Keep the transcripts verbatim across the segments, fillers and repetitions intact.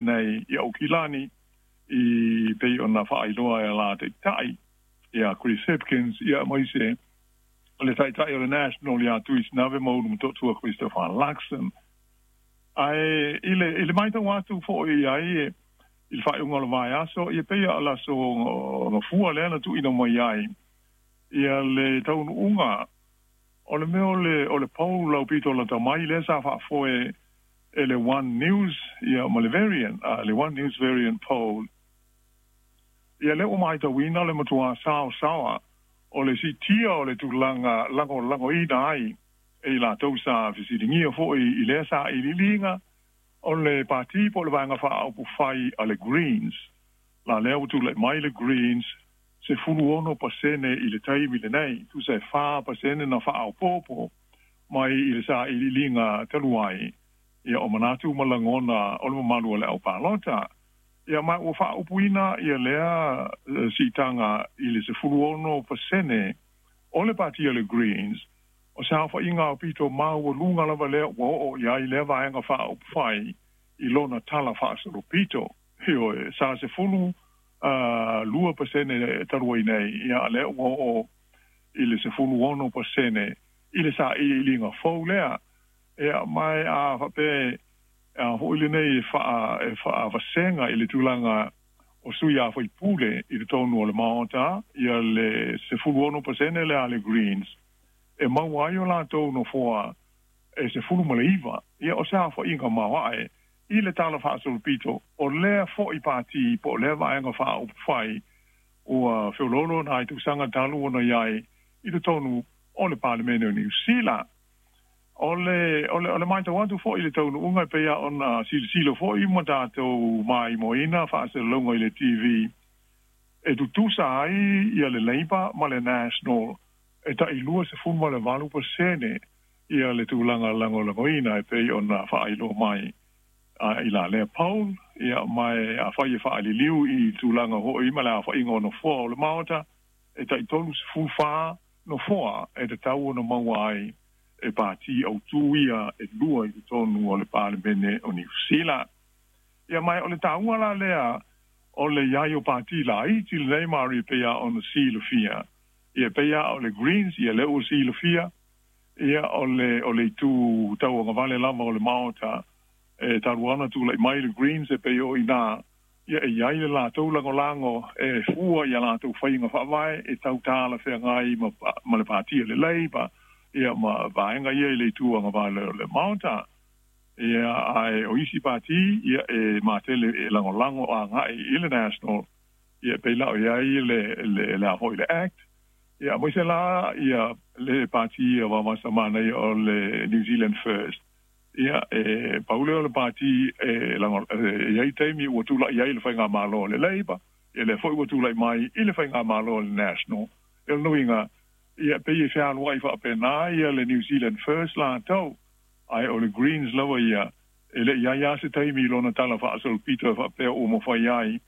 Nei i Aukilani i pei ona faailoa e la taitai ia Chris Hipkins, ia aemaise o le taitai o le National ia Tuisinave Maulumatotua Christopher Luxon. Ae i le i le matau atu foi i ai i le faaiuga o le vaiaso, ia pei o le aso Gafua lea na tuuina mai ai ia le taunuuga o le mea o le o le poll aupito lata mai lea sa faafoe e le One News ia ma le Variant, uh, le One News Variant poll. Ia lea ua matauina le matuā saosaoa o le siitia o le tulaga lagolagoina ai e i latou sa fesiligia foi i lea sailiiliga o le pati po o le Vaega Faaupufai a le Greens. La lea ua tulai mai le Greens sefulu ono pasene i le taimi lenei, tusa e fa pasene na faaopoopo mai i le sailiiliga talu ai, ia o manatu ma lagona o le mamalu o le aupalota. Ia ma ua faaupuina ia lea siitaga i le sefulu ono pasene o le pati o le Greens, o se aofaiga aupito maualuga lava lea ua oo i ai lea Vaega Faaupufai i lona tala faasolopito. Ioe, sa sefulu lua pasene talu ai nei, ia lea ua oo i le sefulu ono pasene i le sailiiliga fou lea. Ia ma a faapea a foi lenei e faa e faavasega i le tulaga o sui usufono i totonu o le Maota, ia le sefulu ono pasene lea a le Greens e maua ai o latou nofoa e sefulu ma le iva. Ia o se aofaiga maoae i le tala faasolopito o lea foi pati po o lea Vaega Faaupufai ua feoloolo nai tausaga talu ona i ai i totonu o le Palemene o Niu Sila. O le o le o le matau atu foi i le taunuuga e pei ona silasila foi ma tatou maimoaina faasalalauga i le T V e tutusa ai ia le Labour ma le National e tai lua sefulu ma le valu pasene ia le tulaga lagolagoina e pei ona faailoa mai a i la lea poll. Ia ma afai e faaliliu i tulaga foi ma le aofaiga o nofoa o le Maota, e tai tolu sefulu fa nofoa e tatau ona maua ai e pati autū ia e lua i totonu o le Palemene o Niu Sila. Ia ma o le taua la lea o le i ai o pati laiti lenei, Mari, pei ona silafia. Ia pei o le Greens, ia lea ua silafia, ia o le o le itu tauagavale lava o le Maota e talu ona tulai mai le Greens e pei o ina ia e i ai le latou lagolago e fua ia latou faiga faavae e tau talafeagai ma, ma le pati o le Labour, ia ma vaega ia i le itu agavale o le Maota. Ia ae o isi pati ia e matele e lagolago agai i le National, ia pei la o i ai le le le a foi le Act, ia aemaise la ia le pati ia Vaovasamanaia o le New Zealand First. Ia e pau lea o le pati e lago e i ai taimi ua tulai ai le faigamalo o le Labour, ia lea foi ua tulai mai i le faigamalo o le National. E le nuiga ia pei e fealuai faapena ia le New Zealand First latou, ae o le Greens lava ia e le i ai lava se taimi i lona tala faasolopito e faapea ua mafai ai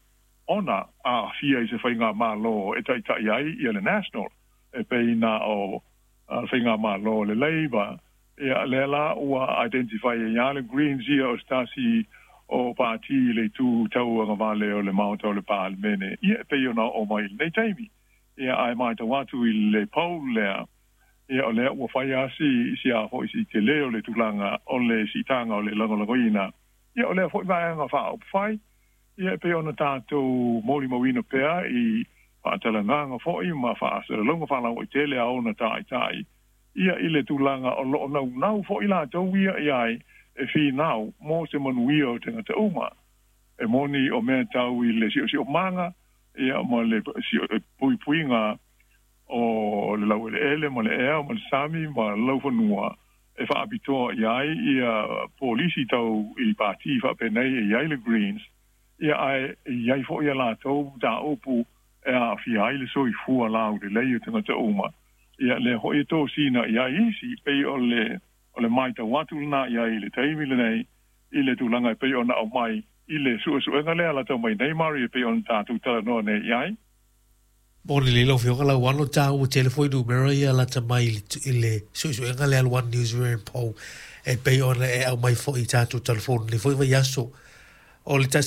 ona aafia i se faigamalo e taitai ai ia le National, e pei na o le faigamalo o le Labour. Ia lea la ua identify ai le Greens ia o se tasi o pati i le itu tauagavale o le Maota o le Palemene, ia e pei ona oo mai i lenei taimi. Ia ae matau atu i le poll lea, ia o lea ua fai lava si si a foi si tele o le tulaga o le siitaga o le lagolagoina ia o lea foi Vaega Faaupufai, ia e pei ona tatou molimauina pea i faatalanoaga foi ma faasalalauga faalauaitele a ona taitai, ia i le tulaga o loo naunau foi latou ia i ai e finau mo se manuia o tagata uma. E moni o mea tau i le siosiomaga ia ma le puipuiga o le laueleele ma le ea ma le sami ma le laufanua e faapitoa i ai ia polisi tau i pati faapenei e i ai le Greens, ia ae i ai foi ia latou mataupu e aafia ai le soifua laulelei o tagata uma. Ia lea foi e tosina i ai isi pei o le o le matau atu lena i ai i le taimi lenei i le tulaga e pei ona aumai i le suesuega lea lata mai nei, Mari, e pei ona tatou talanoa nei i ai. Mo le lilo fioga la wano ta ua telefoni numera ia lata mai i le suesuega lea One News Variant Poll e pei ona e aumai foi i tatou telefoni le foi vaiaso o le tasi.